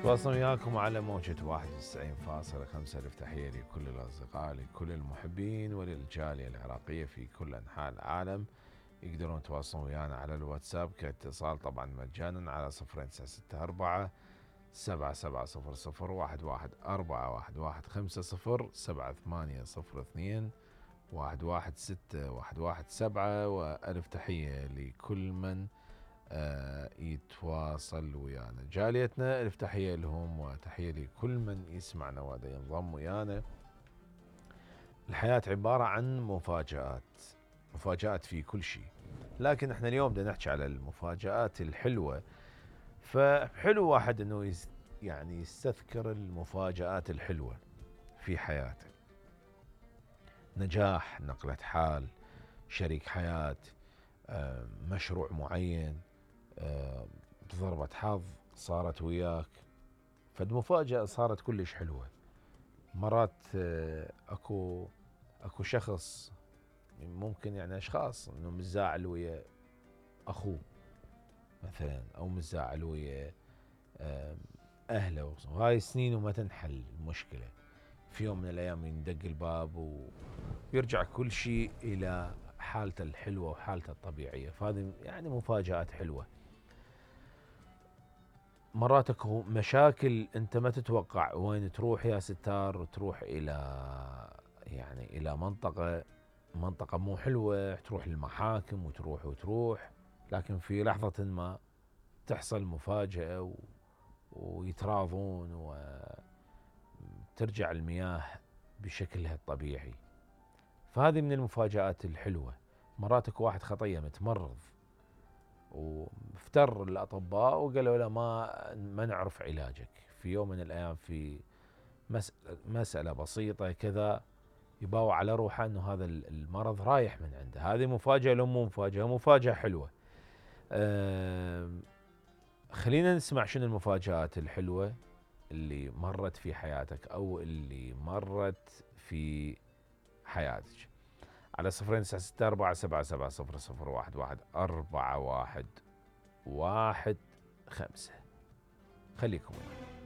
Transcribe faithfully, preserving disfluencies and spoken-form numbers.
تواصل وياكم على موجة واحد وتسعين فاصلة خمسة. ألف تحية لكل الأصدقاء، لكل المحبين وللجالية العراقية في كل أنحاء العالم. يقدرون يتواصلون ويانا على الواتساب كاتصال طبعا مجانا على صفرين تسعة ستة أربعة سبعة سبعة صفر صفر واحد واحد أربعة واحد واحد خمسة صفر سبعة ثمانية صفر اثنين واحد واحد ستة واحد واحد سبعة. وألف تحية لكل من آه يتواصل ويانا. جاليتنا ألف تحية لهم، وتحية لكل من يسمعنا وهذا ينضم ويانا. الحياة عبارة عن مفاجآت، مفاجآت في كل شيء، لكن احنا اليوم بدنا نحكي على المفاجآت الحلوة. فحلو واحد انه يس يعني يستذكر المفاجآت الحلوة في حياته. نجاح، نقلة حال، شريك حياة، مشروع معين، ضربة حظ صارت وياك، فد مفاجأة صارت كلش حلوة. مرات اكو اكو شخص ممكن يعني اشخاص انه متزاعل ويا اخوه مثلا، او متزاعل ويا اهله، وهاي سنين وما تنحل المشكلة. في يوم من الايام يندق الباب ويرجع كل شيء الى حالته الحلوة وحالته الطبيعية. فهذه يعني مفاجآت حلوة. مرات اكو مشاكل انت ما تتوقع وين تروح يا ستار، وتروح الى يعني الى منطقة منطقة مو حلوة، تروح للمحاكم وتروح وتروح، لكن في لحظة ما تحصل مفاجأة و... ويتراضون وترجع المياه بشكلها الطبيعي. فهذه من المفاجآت الحلوة. مرات اكو واحد خطية متمرض وافتر الأطباء وقالوا له ما ما نعرف علاجك. في يوم من الأيام في مسألة, مسألة بسيطة كذا يباوع على روحه أنه هذا المرض رايح من عنده. هذه مفاجأة لو مو مفاجأة، مفاجأة حلوة. أه خلينا نسمع شنو المفاجآت الحلوة اللي مرت في حياتك أو اللي مرت في حياتك على صفرين تسعة ستة أربعة سبعة سبعة صفر صفر واحد واحد أربعة واحد واحد خمسة. خليكم ويانا.